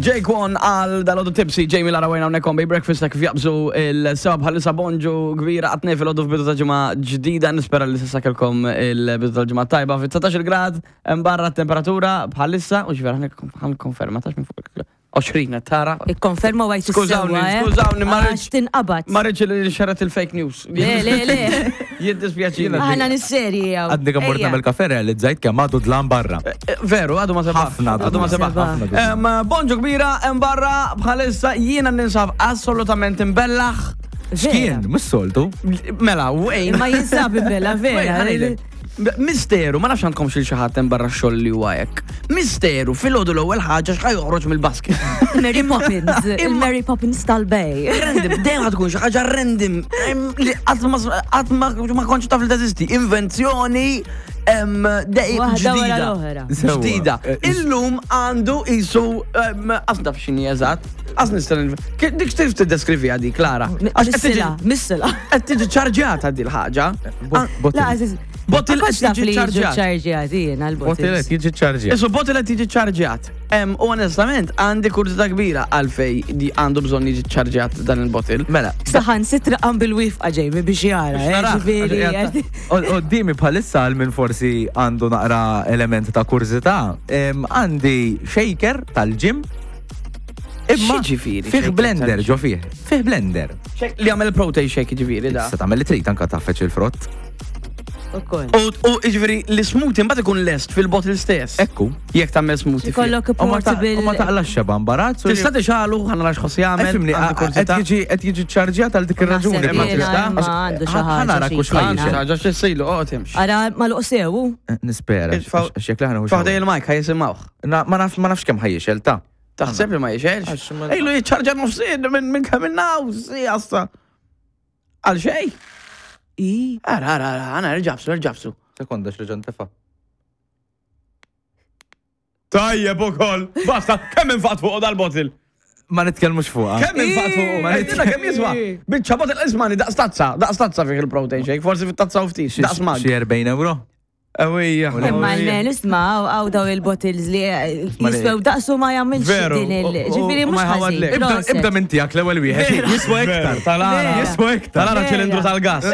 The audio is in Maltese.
Jake One għal dal-għodu tipsy, Jamie Lara Wayne hawnhekk on Bay Breakfast ta' kif jaqbżu il-seba bħalissa bonġu kbira għatnej fil-għodu f'bidu ta' ġimgħa ġdida nispera li s'issa kelkom il-bidu tal-ġimgħa tajba fi 19 grad hemm barra t-temperatura bħalissa u ġifieri ħan konferma tax minn fuq 20 tara. Ikkonferma għajt Skużawni, eh? skużawni, ma rridx. Tinqabad. Ma rridx li xerret il-fake news. Le, le, le. Jiddispjaċini. Aħna nisserji għaw. Għadni kemm mort nagħmel kafe realizzajt kemm għadu dlam barra. Eh, eh, veru, għadu ma sebaħ. Ħafna għadu ma sebaħ. Bonġu kbira, hemm barra bħalissa jiena ninsab assolutament imbellaħ. X'kien, mhux soltu. Mela, wejn. Ma jinsab imbella vera. Misteru, ma nafx għandkom xil xi ħadd hemm barra x-xogħol li huwa hekk. Misteru, filgħodu l-ewwel ħaġa x'ħa joħroġ mill-basket. Mary Poppins, il-Mary Poppins tal-bej. Random, dejjem ħad tkun xi ħaġa random li qatt ma qatt ma kontx taf li teżisti. Invenzjoni dejjem ġdida. Ġdida. Eh, Illum għandu isu qas naf x'inhi eżatt. Qas nista' dik tif tiddeskriviha di Klara. Missila, missila. Qed tiġi ċarġjata di l-ħaġa. Bottle qed tiġi ċarġjat. Bottle qed jiġi ċarġjat. Isu bottle qed jiġi ċarġjat. U onestament għandi kurżità kbira għalfej di għandu bżonn jiġi ċarġjat dan il-bottle. Mela. Saħan sitra qam bil-wifqa ġejmi biex jara. Eh, Qoddimi bħalissa għal min forsi għandu naqra element ta' kurżità, għandi shaker tal-ġim Imma X'jiġifieri Fih shaker blender tal-ġim? ġo fih. Fih blender. Li għamel protein shake ġifieri da. Tista' tagħmel li trid anka taffeċ il-frott. Ukoll. U u ġifieri l-smoothie mbagħad ikun lest fil-bottle stess. Ekku. Jekk tagħmel smoothie. fih. Ikollok U ma ta- portable. u ma taqlax xeba imbarazz. u Tista' tixalu ħa nara x'ħoss jagħmel. Ifhimni, għandi qed kurżità. jiġi qed jiġi ċarġjat għal dik ir-raġuni. Naħseb ma jiena tista' imma għax- għandu xi ħa- ħa ħaġa nara xi kux jkun. ħajjixel. Għandu ħaġa x'issejlu, oqgħod imx. Ara mal-uqsewu. Eh, Nispera, Itfaw- għax jekk laħna Faħdej il-mic ħaj jisimgħuh. Ma nafx ma nafx kemm ħajjixel ta' Taħseb li ma jixelx? Għax ma- Ejlu jiċċarġa nofsin minn minn kemm il-naw, si għassa. Għal xej? I. Ara, ara, ara, għana rġabsu, rġabsu. Sekonda x'reġa' ntefa'. Tajjeb ukoll. Basta, kemm infaqt fuq dal-botil? Ma nitkellmux fuqha. Kemm infaqt fuq? Ma Għidilna kemm jiswa? Biċċa botil ismani daqs tazza, daqs tazza fih il-protein shake, forsi fit-tazza u ftit, daqs mag. Xi 40 euro? Ewija. Imma l-men, isma, għaw daw il-bottles li eh, jiswew daqsu ma jagħmilx Veru, din il. u- u- Ġifieri u ma mhux jħawadlek. ħażin. Ibda Proset. ibda minn tiegħek l-ewwel wieħed. Jiswa iktar. Tal-ara. Jiswa iktar. Tal-ara Vera. ċilindru tal-gas.